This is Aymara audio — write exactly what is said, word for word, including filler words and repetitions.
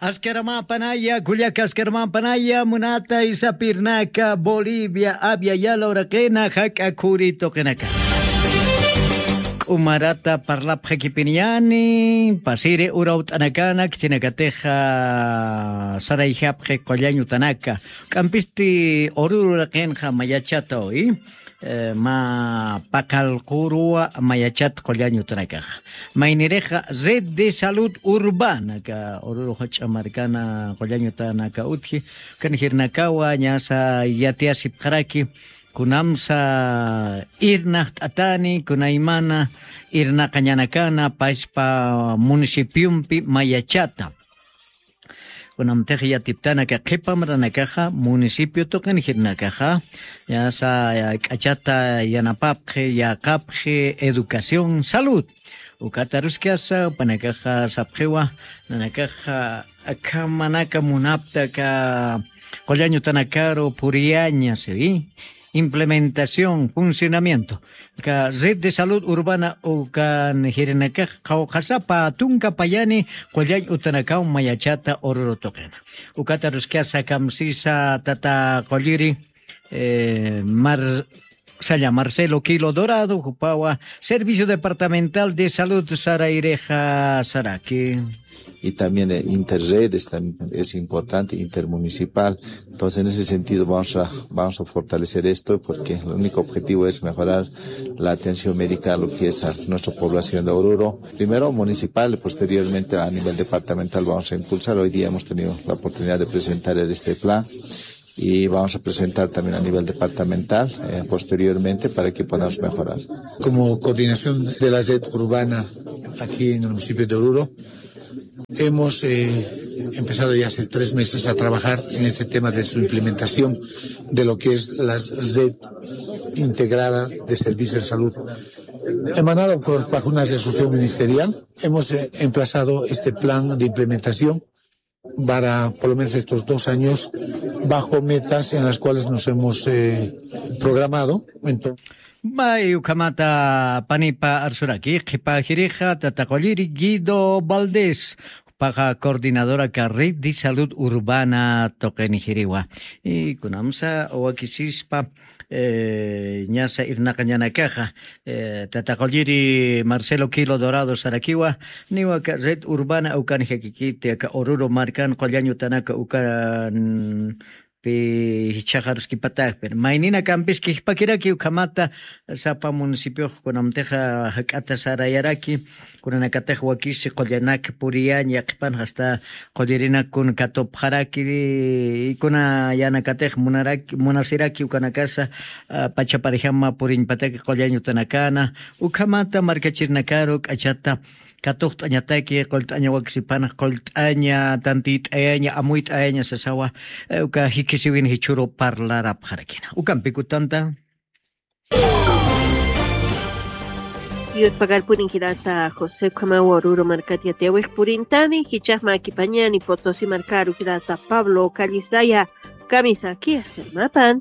Askaramanpanaya kullaka askaramanpanaya munata isapirnaka bolivia avia yala uraqina jak'a khuri tuqinaka. K'umarata parlapxakipiniyani pasiri urawt'anakana khitinakatixa sarayjapxi qullañ utanaka. K'ampisti ururu uraqinxa mayachata uy. Mä paqallquruwa mayachat qullañ utanakaxa maynirixa red de salud urbana ka ururu jach'a markana qullañ utanaka utji. Ukan jirnakawa ñasa yatiyasipxaraki kunamsa irnaqt'atani kunaymana irnaqañanakana paspa municipiompi mayachata. Kunamtix yatiptanaka qhipamranakaxa municipio tuqin jirnakaxa ñasa k'achata yanapapxi yaqapxi educación salud. Ukata ruskasa upanakaxa sapxiwa nanakaxa akhamanaka munaptaka qullañ utanakaru puriyaña siwi. Implementación funcionamiento ka red de salud urbana ukan jirinakax qhawqhasapa tunka payani qullañ utanakaw mayachata ururu tuqina. Ukata ruskasa kamsisa tata qulliri marsalla marcelo kilo dorado jupawa servicio departamental de salud sarayrixa saraki. Y también interredes es importante intermunicipal. Entonces en ese sentido vamos a fortalecer esto porque el único objetivo es mejorar la atención médica a lo que es nuestra población de oruro primero municipal y posteriormente a nivel departamental vamos a impulsar hoy día hemos tenido la oportunidad de presentar este plan y vamos a presentar también a nivel departamental posteriormente para que podamos mejorar. Como coordinación de la red urbana aquí en el municipio de oruro hemos empezado ya hace tres meses a trabajar en este tema de su implementación de lo que es la red integrada de servicios de salud emanado por bajo una resolución ministerial. Hemos emplazado este plan de implementación para por lo menos estos dos años bajo metas en las cuales nos hemos programado. Entonces, may ukhamata panipa arsuraki qhipa jirixa tata qulliri guido valdés paqa coordinadora ka red de salud urbana tuqini jiriwa. Y kunamsa wakisispa ñasa irnaqañanakaxa tata qulliri marcelo kilo dorado sarakiwa niwa ka red urbana ukan jakikiti aka ururu markan qullañ utanaka ukan pi jichhaxaruskipataxpir maynina kampis kijpakiraki ukhamata sapa municipiox kunamtixa jak'ata sarayaraki. Kunanakatix wakisi qullanak puriyañ yaqhipan jasta qullirinak kun katupxaraki y kuna yanakatix munasiraki ukanakasa pachaparjama puriñpataki qullañ utanakana ukhamata markachirnakaru k'achata katuqt'añataki qullt'aña waksipanax qullt'aña tantiyt'ayaña amuyt'ayaña sasawa. Uka jikisiwin jichhuru parlarapxarakina ukampikutanta. Yuspagarpunin jirata josé ukhamawa ruru markat yatiyawix purintani jichhaxmakipañani potosi markaru jirata pablo callisaya. Kamisaki astarimapan.